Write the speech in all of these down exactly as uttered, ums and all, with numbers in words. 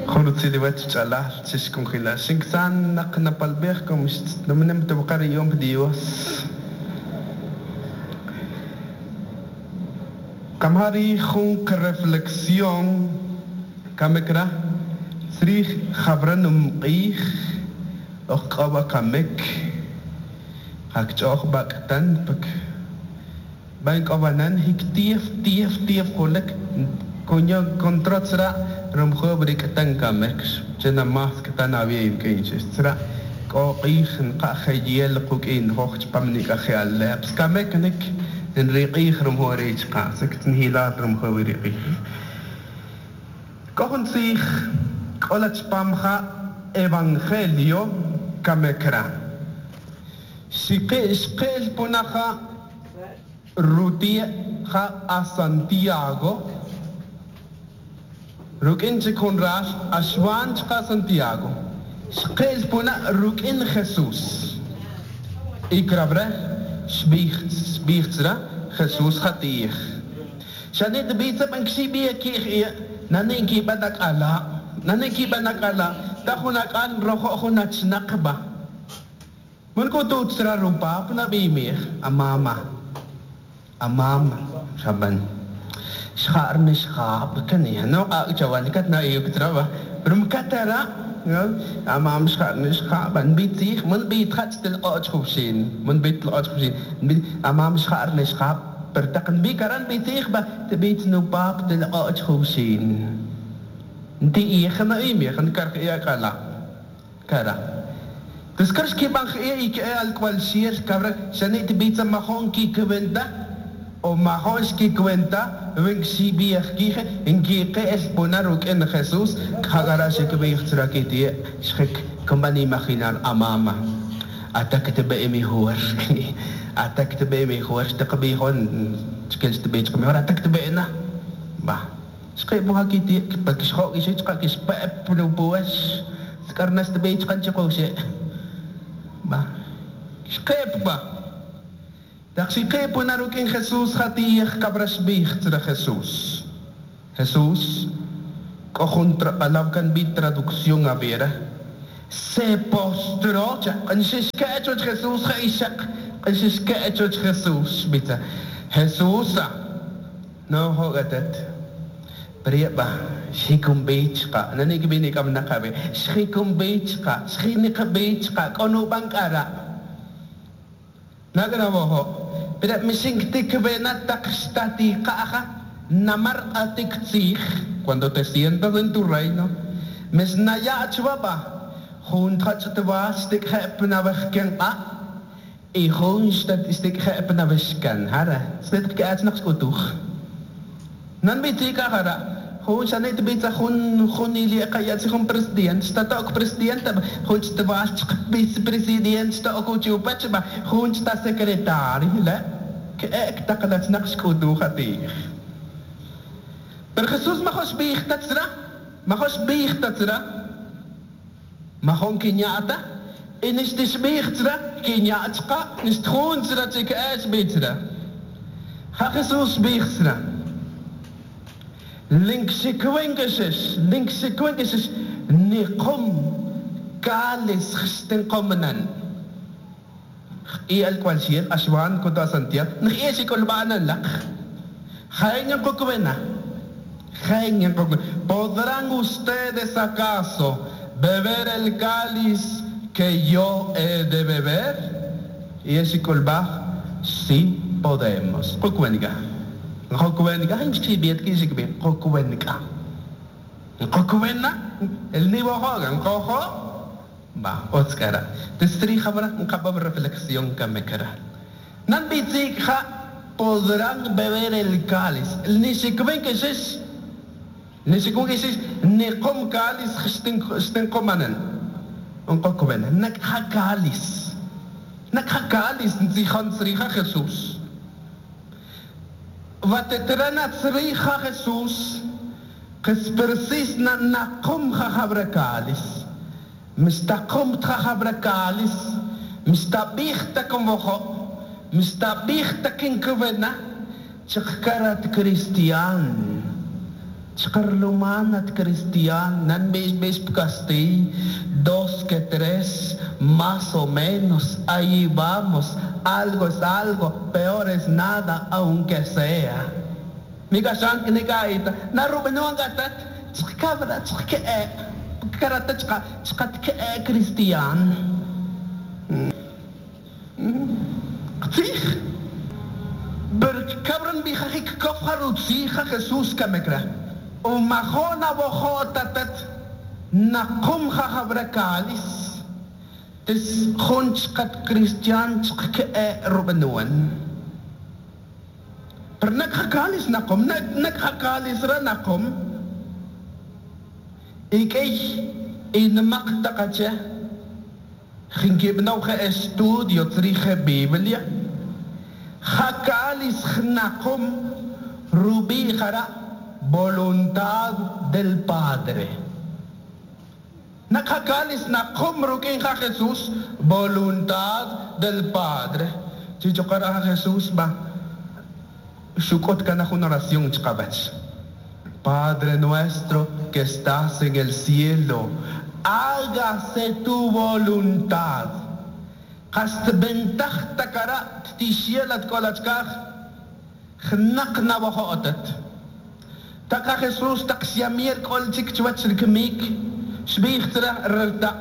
Jun chalal chishkunjila shinksan naqnapalbej como nomnem tubqari yom Dios. Kamari jun reflexión kamekra srij jabranum q'ij ojq'oba kamek hakch'oj bak'tan pak ban k'obanan hik tief tief tief qulek koño controtsra romjob rik'tan kamek chena mas k'tan abiy k'inchis k'o q'ij nqa'jeyel quk'in joj chpam nik'aje aleps kamek nik nriq'ij romjo richqa sektnhilal romjo riq'ij k'o jun tzij k'ola chpam ja evangelio kamekra xiqi xqel punaja ruti ja a Santiago Rukin chikun ras ashwan chqa Santiago xqel puna rukin Jesús ikrabre xbij xbijtzra Jesús jatij xanit bitza ban xibi ki nani ki badak ala nani ki badak ala ta junak an rojo junach naqba mun ko tutsra rupa na bimir amama amama shaban xar nishkhab kani no jawan kat na yuk traba rum katara amam xar nishkhab an bitih mun bit khat til qach khubshin mun bit qach khubshin amam xar nishkhab pertaqn bi karan bitih ba tbit nu pap til qach khubshin nti ikhna imi khan kar ya kala kara تذكرش كي بان خي al cual shier cabra shani tbitza mahon ki kwenta o mahon ki kwenta wen si biach kije en ki es ponaruk en Jesús khagara shik biach trakiti shik kumbani imaginar amama atak tbe mi huar atak tbe mi huar tqbi hon shkil tbe tqbi hor atak tbe na ba shqi buhakiti pakshho ki shqa ki shpa plu buash skarnas tbe tqan chqoshi ba shqep ba Taxi punarukin Jesús jatij cabrashbij tra Jesús. Jesús, cojo palabra bi traducción a vera. Se postró, Jesús Jesús bita. Jesús, no jogatet. Prieba, shikum bichka, nani kibini kam nakabe. Shikum bichka, shinika bichka, kono bankara. Nagana Pero cuando te sientas en tu reino, Hun sanit bitsa hun hun ili kaya si hun president sta tok president hun sta vicepresident sta okuchu ba hun sta secretario la que ek taqlat naqsh kudu khatir. Pero Jesús mahos bichtatsra mahos bichtatsra mahon kinyata en is dis bichtra kinyatqa nistkhun tsra tik as bitra. Ha Jesús bichtra Linksequences, linksequences, niqum kalis xtinqomnan. I al cual siel ashwan kunta Santiago, nxieshi kolbanan laq. Jaeñan kokwena. Jaeñan kokwena. ¿Podrán ustedes acaso beber el cáliz que yo he de beber? Y ese kolbaj, sí podemos. Kokwenga. Kokwenga, imshibet kishikbe, kokwenga. Kokwena, el nivo hogan, kojo, ba, otskara. Testri jabra, nkabab reflexión kamekara. Nan bitzik ja podrán beber el cáliz. El nishikben que es, nishikben que es, niqom cáliz xtinkomanen. Unkokwena, nakha cáliz. Nakha cáliz, nzihan srija Jesús. Vatetrana tsrija Jesús, que na naqum jabrakalis, mistaqum jabrakalis, mistabijta como mistabijta kinkuvena, chakarat cristian, Chqarlumanat cristian nan bish bish pkasti dos que tres más o menos ahí vamos algo es algo peor es nada aunque sea Mikashan knikaita narubenuan gatat chqkabra chqke karata chqa chqatke cristian Qtzij Berkabran bijajik kofjarutzi ja Jesús kamekra Umajona bojotatat naqum jajabrakalis tis junchqat cristian chqke rubenuan Per nakjakalis naqum nakjakalis ra naqum Ikey inmaqtaqache jinkibnawje estudio trije Biblia Jakalis jnaqum rubi jara voluntad del Padre. Nakakalis naqum rukin ja Jesús voluntad del Padre. Chichokara Jesús ba shukot kana una oración chkabach. Padre nuestro que estás en el cielo, hágase tu voluntad. Hast bentach takara tishielat kolachkaj, jnaqna bojotet. Taka Jesús taksiamier kolchik chwachlikmik, shbichtra rta.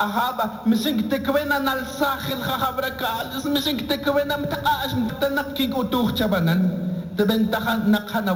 Ahaba, misink tekwena nalsachil jajabrakal, misink tekwena mtaash mtanakik utuch chabanan, tebentaja naqhana.